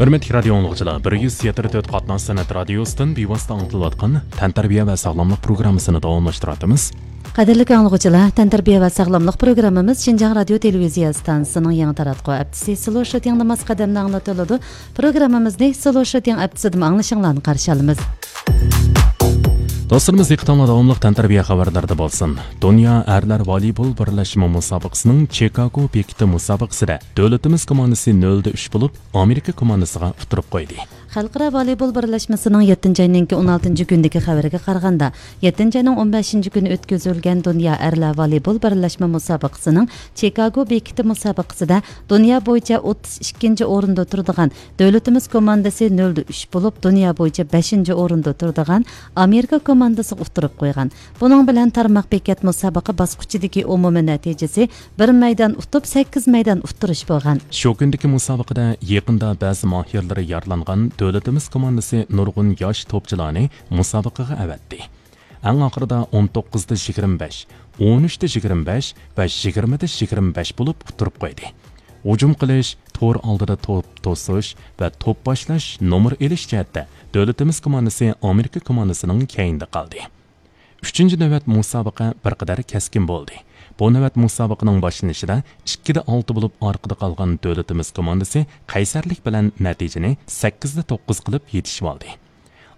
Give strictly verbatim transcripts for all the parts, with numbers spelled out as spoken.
ھۆرمەتلىك رادىيو ئاڭلىغۇچىلار، بىر يۈز يەتتە تۆت قاتناش سەنئەت رادىيوسىدىن بىۋاسىتە ئاڭلىتىلىۋاتقان تەنتەربىيە ۋە ساغلاملىق پروگراممىسىنى داۋاملاشتۇرۇۋاتىمىز. قەدىرلىك ئاڭلىغۇچىلار، تەنتەربىيە ۋە ساغلاملىق پروگراممىمىز شىنجاڭ رادىيو تېلېۋىزىيە ئىستانسىسىنىڭ يېڭى تاراتقۇ ھەپتىسى سلو شوتىڭدا ماس قەدەمدە ئاڭلىتىلىدۇ. پروگراممىمىزنى سلو شوتىڭ ھەپتىسىدىمۇ ئاڭلىشىڭلارنى قارشى ئالىمىز. دوستلىرىمىز، دىققىتىڭلار داۋاملىق تەنتەربىيە خەۋەرلىرىدە بولسۇن. دۇنيا ئەرلەر ۋالىبول بىرلەشمە مۇسابىقىسىنىڭ چىكاگو بېكىتى مۇسابىقىسىدە دۆلىتىمىز كوماندىسى نۆلدە ئۈچ بولۇپ، ئامېرىكا كوماندىسىغا ئۇتتۇرۇپ قويدى. خەلقئارا ۋالىبول بىرلەشمىسىنىڭ يەتتىنچى ئاينىڭكى ئون ئالتىنچى كۈنىدىكى خەۋىرىگە قارىغاندا، يەتتىنچى ئاينىڭ ئون بەشىنچى كۈنى ئۆتكۈزۈلگەن دۇنيا ئەرلەر ۋالىبول بىرلەشمە مۇسابىقىسىنىڭ چىكاگو بېكىتى مۇسابىقىسىدە دۇنيا بويىچە ئوتتۇز ئىككىنچى ئورۇندا تۇرىدىغان دۆلىتىمىز كوماندىسى نۆلدە ئۈچ بولۇپ، دۇنيا بويىچە بەشىنچى ئورۇندا تۇرىدىغان ئامېرىكا كوماندىسىغا ئۇتتۇرۇپ قويغان. بۇنىڭ بىلەن تارماق بېكەت مۇسابىقە باسقۇچىدىكى ئومۇمىي نەتىجىسى بىر مەيدان ئۇتۇپ، سەككىز مەيدان ئۇتتۇرۇش بولغان. شۇ كۈندىكى مۇسابىقىدە يېقىندا بەزى ماھىرلىرى يارىلانغان دۆلىتىمىز كوماندىسى نۇرغۇن ياش توپچىلارنى مۇسابىقىگە ئەۋەتتى. ئەڭ ئاخىرىدا ئون توققۇزدا يىگىرمە بەش، ئون ئۈچتە يىگىرمە بەش ۋە يىگىرمىدە يىگىرمە بەش بولۇپ ئۇتتۇرۇپ قويدى. ھۇجۇم قىلىش، تور ئالدىدا توپ توسۇش ۋە توپ باشلاش، نومۇر ئېلىش جەھەتتە دۆلىتىمىز كوماندىسى ئامېرىكا كوماندىسىنىڭ كەينىدە قالدى. ئۈچىنچى نۆۋەت مۇسابىقە بىر قەدەر كەسكىن بولدى. بۇ نۆۋەت مۇسابىقىنىڭ باشلىنىشىدا ئىككىدە ئالتە بولۇپ ئارقىدا قالغان دۆلىتىمىز كوماندىسى قەيسەرلىك بىلەن نەتىجىنى سەككىزدە توققۇز قىلىپ يېتىشىۋالدى.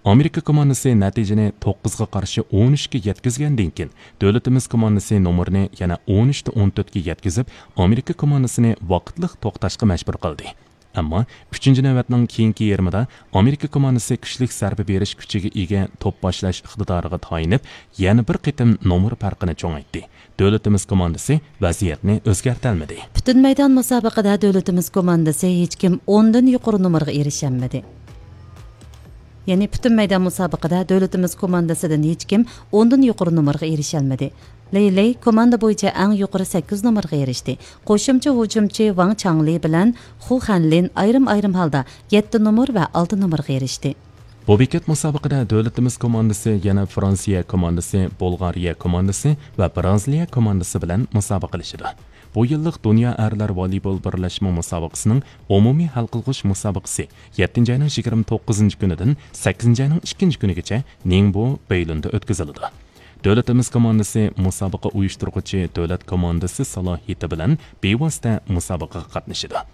ئامېرىكا كوماندىسى نەتىجىنى توققۇزغا قارشى ئون ئۈچكە يەتكۈزگەندىن كېيىن، دۆلىتىمىز كوماندىسى نومۇرنى يەنە ئون ئۈچتە ئون تۆتكە يەتكۈزۈپ، ئامېرىكا كوماندىسىنى ۋاقىتلىق توختاشقا مەجبۇر قىلدى. ئەمما ئۈچىنچى نۆۋەتنىڭ كېيىنكى يېرىمىدا ئامېرىكا كوماندىسى كۈچلۈك زەربە بېرىش كۈچىگە ئىگە توپ باشلاش ئىقتىدارىغا تايىنىپ، يەنە بىر قېتىم نومۇر پەرقىنى چوڭايتتى. دۆلىتىمىز كوماندىسى ۋەزىيەتنى ئۆزگەرتەلمىدى. پۈتۈن مەيدان مۇسابىقىدە دۆلىتىمىز كوماندىسى ھېچكىم ئوندىن يۇقىرى نومۇرغا ئېرىشەلمىدى. يەنى پۈتۈن مەيدان مۇسابىقىدە دۆلىتىمىز كوماندىسىدىن ھېچكىم ئوندىن يۇقىرى نومۇرغا ئېرىشەلمىدى. لېي لېي كوماندا بويىچە ئەڭ يۇقىرى سەككىز نومۇرغا ئېرىشتى. قوشۇمچە ھۇجۇمچى ۋاڭ چاڭلى بىلەن خۇ خەنلىن ئايرىم-ئايرىم ھالدا يەتتە نومۇر ۋە ئالتە نومۇرغا ئېرىشتى. بۇ بېكەت مۇسابىقىدە دۆلىتىمىز كوماندىسى يەنە فرانسىيە كوماندىسى، بۇلغارىيە كوماندىسى ۋە بىرازىلىيە كوماندىسى بىلەن مۇسابىقىلىشىدۇ. بۇ يىللىق دۇنيا ئەرلەر ۋالىبول بىرلەشمە مۇسابىقىسىنىڭ ئومۇمىي ھەل قىلغۇچ مۇسابىقىسى يەتتىنچى ئاينىڭ يىگىرمە توققۇزىنچى كۈنىدىن سەككىزىنچى ئاينىڭ ئىككىنچى كۈنىگىچە نىڭبو بېيلۇندا ئۆتكۈزۈلىدۇ. دۆلىتىمىز كوماندىسى مۇسابىقە ئۇيۇشتۇرغۇچى دۆلەت كوماندىسى سالاھىيىتى بىلەن بىۋاسىتە مۇسابىقىگە قاتنىشىدۇ.